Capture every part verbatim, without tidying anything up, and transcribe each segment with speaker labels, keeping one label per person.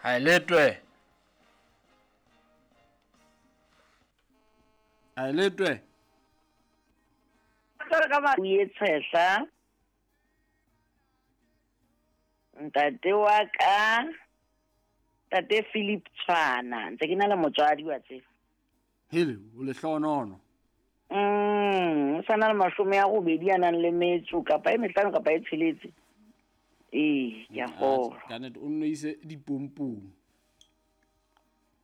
Speaker 1: Ha e letwe. Ha e letwe.
Speaker 2: Ka o ye tshehla. Ntate wa ka Tate Philip Tshwana, ntse ke na le motswadi wa tseba.
Speaker 1: Hele, o lehlohonono.
Speaker 2: Mm, o sa na le mashome a robedi a nang le metso kapa e mehlano kapa e tsheletse. Ee, ke a kgolwa.
Speaker 1: Ka nnete o nno ise dipompong.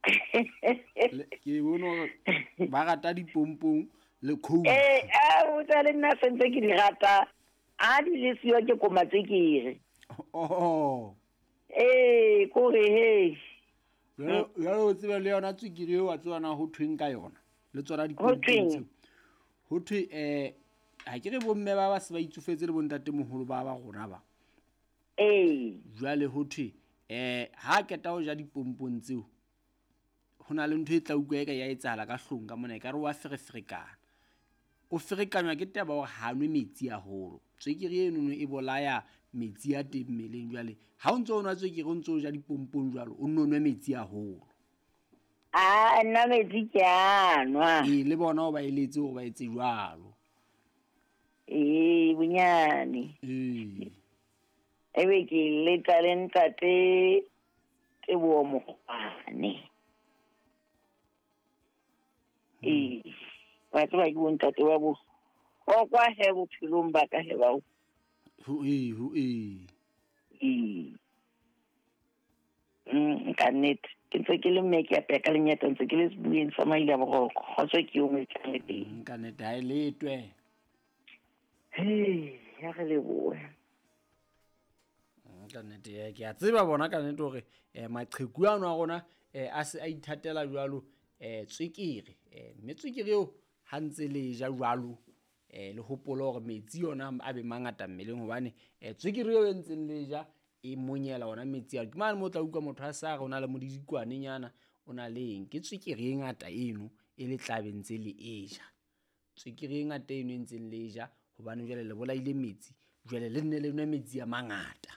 Speaker 1: Ke bone hore ba rata dipompong le coke.
Speaker 2: Eh, a o tsa le nna sentse ke di rata. A di le siyo ke koma tse ke re.
Speaker 1: Oh.
Speaker 2: Eh, kore he.
Speaker 1: Jwale o tsebe le yona tswekere eo wa tseba na ho thweng ka yona. Le tsona dipompong tseo. Ho thwe eh ha ke re bomme ba ba se ba itsofetse le bontate moholo ba ba rona ba.
Speaker 2: Eh.
Speaker 1: Jwale ho thwe eh ha keta ho ja dipompong tseo ho na le ntho e tla utlwa e ka ya etsahala ka hlong ka mona e ka re wa fereferekana. O ferekanywa ke taba hore ha nwe metsi haholo. Tswekere eno e bolaya metsi a teng mmeleng jwale. Ha o ntso o nwa tswekere o ntso o ja dipompong jwalo o nno nwe metsi haholo.
Speaker 2: Ah, nna metsi ke a nwa.
Speaker 1: Ee, le bona o ba eletse hore ba etse jwalo.
Speaker 2: Ee, bonyane.
Speaker 1: Ee.
Speaker 2: Ebe ke leta le ntate Teboho Mokgwane. Ee, wa tseba ke bontate wa bo kwa he bophelong ba ka he bao.
Speaker 1: Ho ee, ho ee.
Speaker 2: Ee. Mm, ka nnete. Ke ntse ke le mme ke apeya ka lenyata ntse ke le sebueng sa maile a boroko. Kgotso ke eo mo e tlang le teng.
Speaker 1: Ka nnete ha e letwe.
Speaker 2: Hei, ya re lebohe.
Speaker 1: Ka nnete ke a tseba bona ka nnete hore eh maqheku ano a rona eh a se a ithatela jwalo eh tswekere eh mme tswekere eo ha ntse le ja jwalo eh le hopole hore metsi yona a be mangata mmeleng hobane eh tswekere eo e ntseng le ja e monyela ona metsi a ke mane mo tla utlwa motho a sa re o na le modidikwane nyana o na le eng ke tswekere e ngata eno e le tlabe ntse le e ja tswekere e ngata eno e ntseng le ja hobane jwale le bolaile metsi jwale le nne le nwe metsi a mangata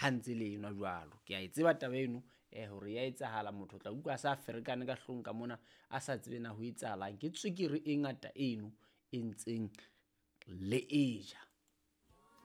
Speaker 1: ha ntse le enwa jwalo. Ke a e tseba taba eno eh hore ya etsahala motho tla utlwa a sa ferekane ka hlong ka mona a sa tsebe na ho etsahalang ke tswekere e ngata eno e ntseng le e ja.